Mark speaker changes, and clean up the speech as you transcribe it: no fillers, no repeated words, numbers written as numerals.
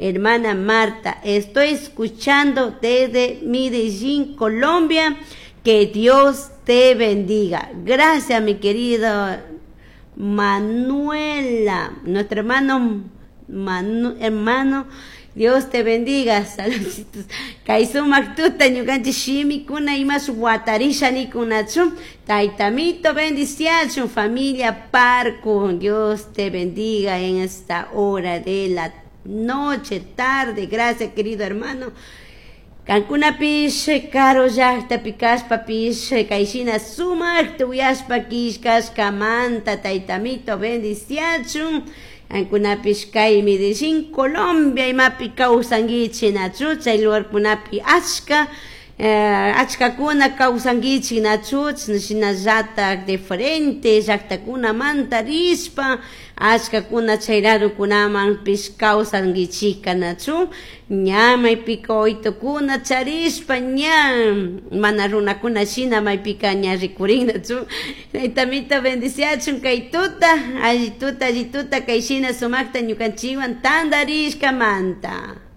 Speaker 1: Hermana Marta, estoy escuchando desde Medellín, Colombia. Que Dios te bendiga. Gracias, mi querido Manuela, nuestro hermano, hermano, Dios te bendiga. Saluditos. Kay sumak tuta ñukanchik shimikuna imash watarisha nikunachu. Taytamito bendiciachun familia Parco. Dios te bendiga en esta hora de la noche, tarde. Gracias, querido hermano. Kankunapish karu llaktapi kashpapish kayshina sumakta uyashpa killkashkamanta taytamito bendiciachun. Kankunapish kay Medellín, Colombia imapi kawsankichik nachu chay lugarkunapi achka achkakuna kawsankichik nachu shinallatak diferente llaktakunamanta rishpa achkakuna chay ladokunamanpish kawsankichikka nachu ña maypika oytukuna charishpa ña mana runakuna shina maypika ña rikurin nachu taytamito bendiciachun kay tuta alli tuta alli tuta kay shina sumakta ñukanchikwan tantarishkamanta.